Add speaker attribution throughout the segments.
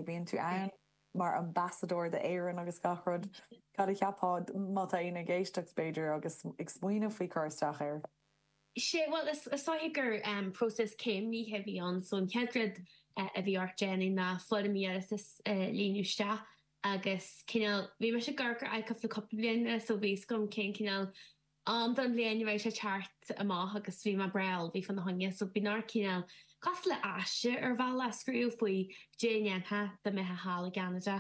Speaker 1: Bíonn tú ann mar ambasadóir d'Éirinn agus gach rud. Cad a cheapfá má tá éinne ag éisteacht, b'fhéidir, agus ag smaoineamh faoi cur isteach air?
Speaker 2: Sea, bhuel, is dóiche gur próiseas céimnithe a bhí ann. So an chéad rud a bhí ort déanamh ná foirm iarratais a líonadh isteach agus cineál, bhí mise ag amharc ar ICUF le cúpla bliain anuas so bhí fhios agam cén cineál am den bhliain a bheadh sé teacht amach agus bhí mé breá ullmhaithe fána choinne so bíonn ort cineál cosúil le aiste ar bhealach a scríobh faoi caidé a dhéanfá dá mbeifeá thall i gCeanada,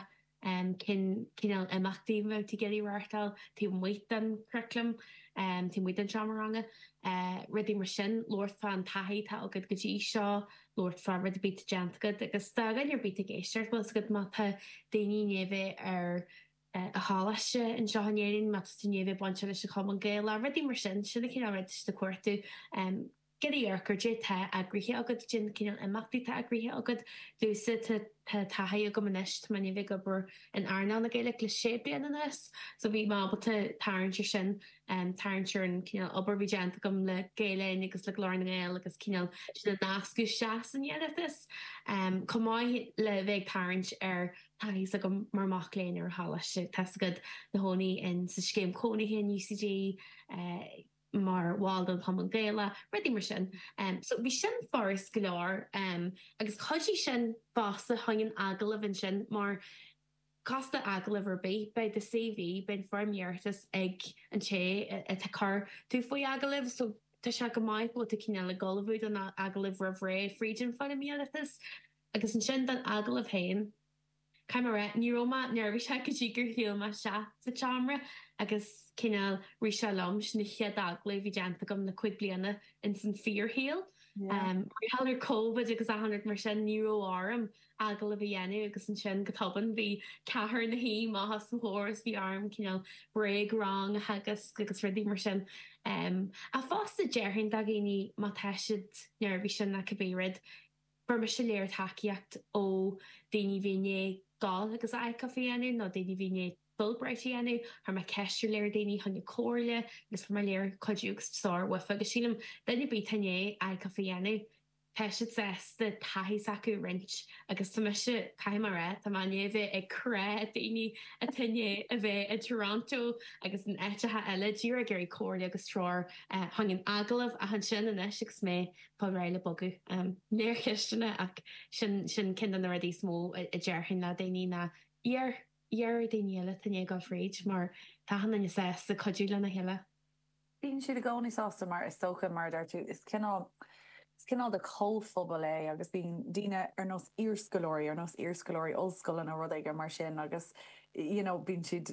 Speaker 2: cén cineál imeachtaí a bheadh tú ag iarraidh reáchtáil taobh amuigh den churaclam, taobh amuigh den seomra ranga, rudaí mar sin, labhairt fán taithí atá agat go dtí seo, labhairt fá rud ar bith atá déanta agat agus dá dhuine ar bith atá ag éisteacht, bhfuil fhios agat má tá daoine i ndiaidh bheith ar an choláiste anseo in Éirinn, má tá tú i ndiaidh bheith bainteach leis an Chumann Gaelach, rudaí mar sin, sin an cineál rud atá siad ag cuartú. Ag amharc ar caidé atá eagraithe agat, cén cineál imeachtaí atá eagraithe agat. Domhsa, tá tá taithí agam anois, tá mé i ndiaidh bheith ag obair in earnáil na Gaeilge le sé bliana anuas, so bhí mé ábalta tarraingt ar sin, tarraingt ar an cineál obair a bhí déanta agam le Gael Linn agus le Glór na nGael agus cineál sin a nascadh isteach san iarratas. Chomh maith le bheith ag tarraingt ar taithí s'agam mar mac léinn ar an choláiste. Tá's agat, ina chónaí in sa scéim cónaithe in UCD, mar bhall den Chumann Gaelach, rudaí mar sin. So bhí sin furast go leor agus chuidigh sin fosta chuig an agallamh ansin mar cosúil le agallamh ar bith, beidh do CV, beidh an foirm iarratais ag an té atá ag cur tú faoi agallamh so tá sé go maith go bhfuil tú cineál ag ullmhú don agallamh roimh ré fríd an foirm iarratais. Agus ansin don agallamh féin, caithfidh mé a rá, ní raibh mé neirbhíseach go dtí gur shiúil mé isteach sa tseomra agus cineál rith sé liom, sin an chéad agallamh a bhí déanta agam le 5 bliana ins an fíorshaol. Mar gheall ar Covid agus achan rud mar sin, ní raibh orm agallamh a dhéanamh agus ansin go tobann bhí ceathrar ina shuí amach os mo chomhair is bhí orm cineál bréag-rang a theagasc agus rudaí mar sin. Ach fosta déarfainn do dhaoine má tá siad neirbhíseach nó cibé rud, Fuair mise léar tacaíocht ó daoine a bhí i ndiaidh dul agus ICUF a dhéanamh nó daoine a bhí i ndiaidh Fulbright a dhéanamh. Chuir mé ceist ar léar daoine chun comhairle agus fuair mé léar cuidiú agus treoir uafa agus sílim duine ar bith atá i ndiaidh ICUF a dhéanamh tá siad sásta taithí s'acu a roinnt agus tá mise, caithfidh mé a rá, tá mé i ndiaidh bheith ag crá daoine atá i ndiaidh a bheith i Toronto agus in áiteacha eile díreach ag iarraidh comhairle agus treoir chun an agallamh ach ansin anois agus mé fáil réidh le bogadh. Léar ceisteanna ach sin sin ceann de na rudaí is mó a déarfainn le daoine ná iarr, iarr ar daoine eile atá i ndiaidh dul fríd mar tá achan duine sásta cuidiú lena chéile.
Speaker 1: Bíonn siad i gcónaí sásta mar is dócha, mar a deir tú, is cineál, is cineál de chomhphobal é agus bíonn daoine ar nós iarscoláirí, ar nós iarscoláirí ollscoile nó rud éigin mar sin agus you know bíonn siad,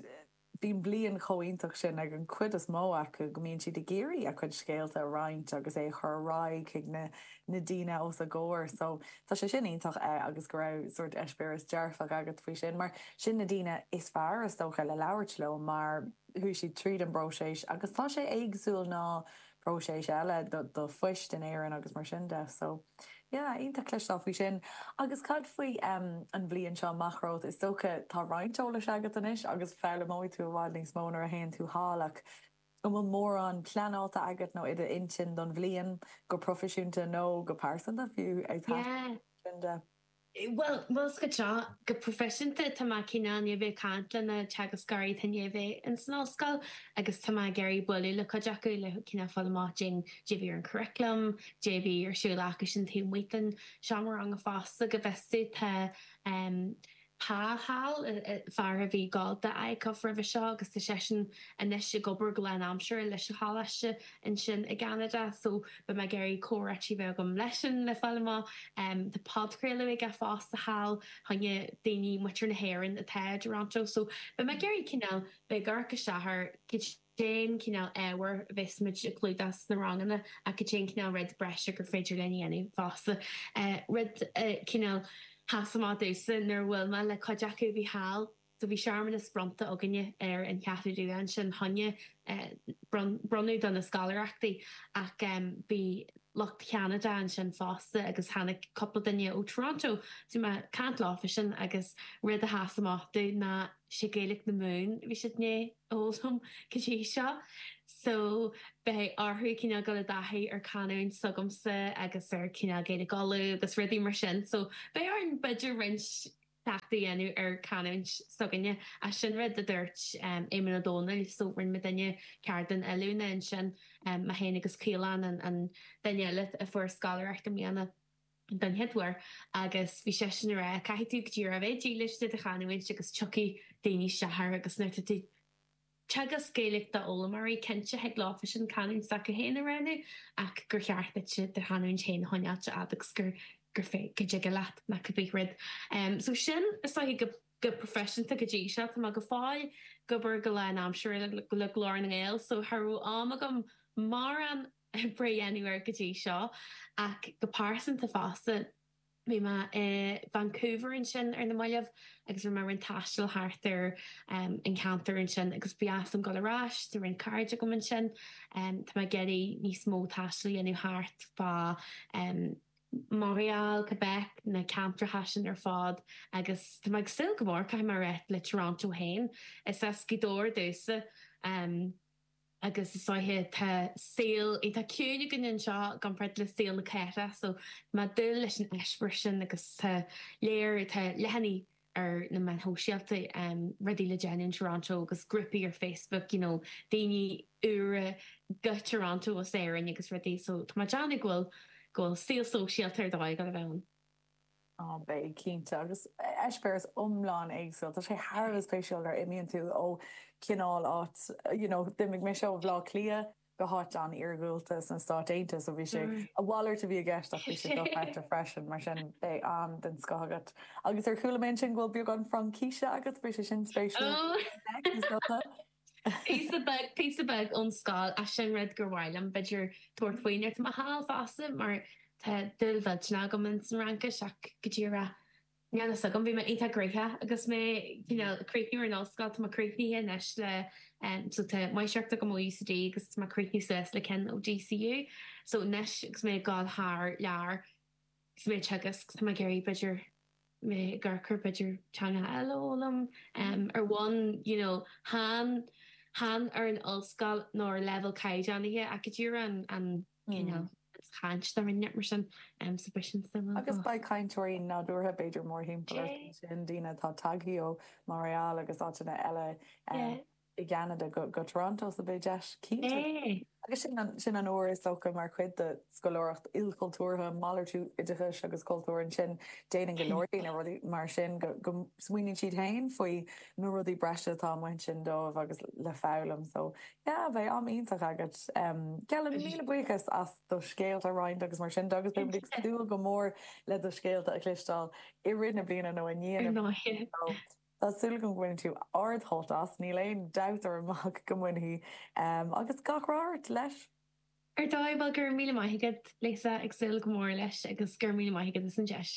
Speaker 1: Bíonn bliain chomh iontach sin ag an chuid is mó acu go mbíonn siad ag iarraidh a gcuid scéalta a roinnt agus é a chur ar aghaidh chuig na na daoine os a gcomhair. So tá sé sin iontach agus go raibh sórt eispéireas dearfach agat faoi sin mar sin na daoine is fearr is dócha le labhairt leo mar chuaigh siad tríd an bpróiseas agus tá sé éagsúil ná próiseas eile do phoist in Éirinn agus mar sin de. So yeah, iontach cloisteáil faoi sin. Agus cad faoi an bhliain seo amach romhat? Is dócha tá roinnt eolais agat anois agus foghlaimeoidh tú i bhfad níos mó nuair a théann tú thall ach an bhfuil mórán pleanáilte agat nó i d'intinn don bhliain, go proifisiúnta nó go pearsanta fiú ag
Speaker 2: Yeah. sin de? Bhuel, bhuel go seo, go proifisiúnta tá mé cineál i ndiaidh bheith ag caint le na teagascóirí atá i ndiaidh bheith ins an ollscoil agus tá mé ag iarraidh bualadh le cuid acu le cineál fáil amach cad é a bhí ar an curriculum, cad é a bhí ar siúl acu sin taobh amuigh den seomra ranga fosta go bhfios domh tá Pa thall, fear a bhí ag gabháil do ICUF roimhe seo agus tá seisean anois ag obair go lánaimseartha leis an choláiste ansin i gCeanada so beidh mé ag iarraidh comhráití a bheith agam leisean le fáil amach. Tá podchraoladh aige fosta thall fá choinne daoine, muintir na hÉireann atá i dToronto so beidh mé ag iarraidh cineál bheith ag amharc isteach ar cén cineál ábhair a bheas muid ag clúdach sna ranganna ach cad é an cineál rud breise gur féidir linn a dhéanamh fosta. Rud cineál sheas amach domhsa nuair a bhuail mé le cuid acu a bhí thall, so bhí searmanas bronnta againne ar an Cheathrú Rua ansin fá choinne bronnadh do na scoláireachtaí ach bhí lucht Cheanada ansin fosta agus tháinig cúpla duine ó Toronto. So bhí mé ag caint leofa sin agus rud a sheas amach domh ná sé Gaeilge na Mumhan a bhí siad i ndiaidh a fhoghlaim go dtí seo. So beidh orthu cineál dul i dtaithí ar canúint s'agamsa agus ar cineál Gaeilge Uladh agus rudaí mar sin. So beidh orainn b'fhéidir roinnt. cleachtadh a dhéanamh ar chanúint s'againne. Ach sin rud a dúirt Éamonn Ó Dónaill, so rinne muidinne ceardlann oiliúna ansin, mé féin agus Caolán, an duine eile a fuair scoláireacht i mbliana don chéad uair, agus bhí seisean ag rá, caithfidh tú go díreach a bheith dílis do do chanúint agus tiocfaidh daoine isteach air agus nuair atá tú Teagasc Gaeilge d'fhoghlaimeoirí, cinnte thig leofa sin canúint s'acu féin a roghnú ach gur cheart duit do chanúint féin a choinneáilt a'd agus gur gur fé go dtig leat nó cibé rud. So sin is dóiche go go proifisiúnta go dtí seo. Tá mé go fóill ag obair go lánaimseartha le Glór na nGael so cha raibh am agam mórán oibre a dhéanamh air go dtí seo ach go pearsanta fosta. Bhí mé i Vancouver ansin ar na mallaibh agus rinne mé roinnt taistil thart ar an cheantar ansin agus ba dheas liom dul ar ais, tá roinnt cairde agam ansin. Tá mé ag iarraidh níos mó taistil a dhéanamh thart fá Montréal, Quebec, na ceantracha sin ar fad agus tá mé ag súil go mór, caithfidh mé a rá, le Toronto féin. Is as Gaoth Dobhair domhsa. Agus is dóiche tá saol iontach ciúin againn anseo i gcomparáid le saol na cathrach so tá mé ag dúil leis an eispéireas sin agus tá léir, tá leathanaigh ar na meáin shóisialta, rudaí le déanamh in Toronto agus grúpaí ar Facebook, you know, daoine úra go Toronto as Éirinn agus rudaí so tá mé ag déanamh go bhfuil, go bhfuil saol sóisialta ar dóigh ag dul a bheith ann.
Speaker 1: Á, beidh, cinnte. Agus eispéireas iomlán éagsúil. Tá sé thar a bheith spéisiúil nuair a imíonn tú ó chineál áit, you know, d'imigh mise ó Bhaile Átha Cliath go háit an-iargúlta sna Stáit Aontaithe, so bhí sé, a mhalairt a bhí i gceist ach bhí sé dochreidte freisin, mar sin beidh am den scoth agat. Agus ar chuala mé ansin go bhfuil beagán Fraincise agat, beidh sé sin spéisiúil. Is
Speaker 2: dócha. Píosa beag, píosa beag ón scoil, ach sin rud gur mhaith liom, b'fhéidir, tabhairt faoi nuair atá mé thall fosta, mar tá dúil mhillteanach agam ins an Fhraincis ach go díreach, níl a fhios agam, bhí mé iontach gnoitheach agus mé cineál ag críochnú ar an ollscoil, tá mé críochnaithe anois le, so tá máistreacht agam ó UCD agus tá mé ag críochnú suas le ceann ó DCU, so anois agus mé ag dul thar lear, agus mé ag teagasc, tá mé ag iarraidh b'fhéidir, mé ag amharc ar b'fhéidir teanga eile a fhoghlaim ar bhonn you know chan chan ar an ollscoil nó ar leibhéal caighdeánaithe ach go díreach an an cineál chaint dá rinne mar sin so beidh sin
Speaker 1: suimiúil. Agus beidh cainteoirí nádúrtha b'fhéidir mórthimpeall ort ansin, daoine atá tagtha ó Montréal agus áiteanna eile. i gCeanada go Toronto so beidh deis cinnte. Agus sin an, sin an uair is dócha mar chuid de scoláireacht ilchultúrtha, malartú oideachais agus cultúir ansin, déanann go leor daoine rudaí mar sin go, go smaoiníonn siad féin faoi na rudaí breise atá amuigh ansin dóibh agus le foghlaim. So yeah, beidh am iontach agat. Celann, míle buíochas as do scéalta a roinnt agus mar sin de agus beidh muid ag súil go mór le do scéalta a chloisteáil i rith na bliana nó i ndiaidh na bliana. So, Tá súil agam go mbainfidh tú ard-shult as, níl aon dabht orm ach go mbainfidh. Agus gach rath ort leis!
Speaker 2: Ar dóigh, bhuel, go raibh míle maith agat, Lisa, ag súil go mór leis agus go raibh míle maith agat as an deis.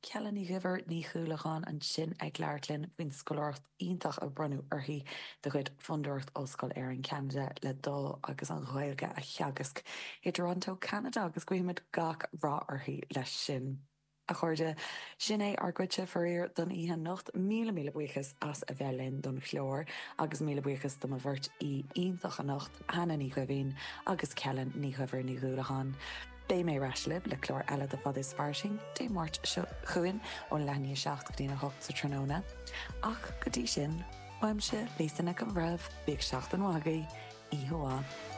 Speaker 1: Celann Ní Dhuibhir Ní Dhúlacháin ansin ag labhairt linn faoin scoláireacht iontach a bronnadh uirthi de chuid Fondúireacht Ollscoil Éireann Ceanada le dul agus an Ghaeilge a theagasc i dToronto, Ceanada agus guímid gach rath uirthi leis sin. A chairde, sin é ár gcuidse, faraor, don oíche anocht. Míle míle buíochas as a bheith linn don chlár agus míle buíochas do mo bheirt aoi iontach anocht, Hannah Ní Dhoimhín agus Celann Ní Dhuibhir Ní Dhúlacháin. Beidh mé ar ais libh le clár eile de Fada is Fairsing Dé Máirt seo chugainn ón leath i ndiaidh 7 go dtí'n 8 sa tráthnóna. Ach go dtí sin, uaimse, Lisa Nic an Bhreithimh, bíodh seachtain mhaith agaibh, oíche mhaith.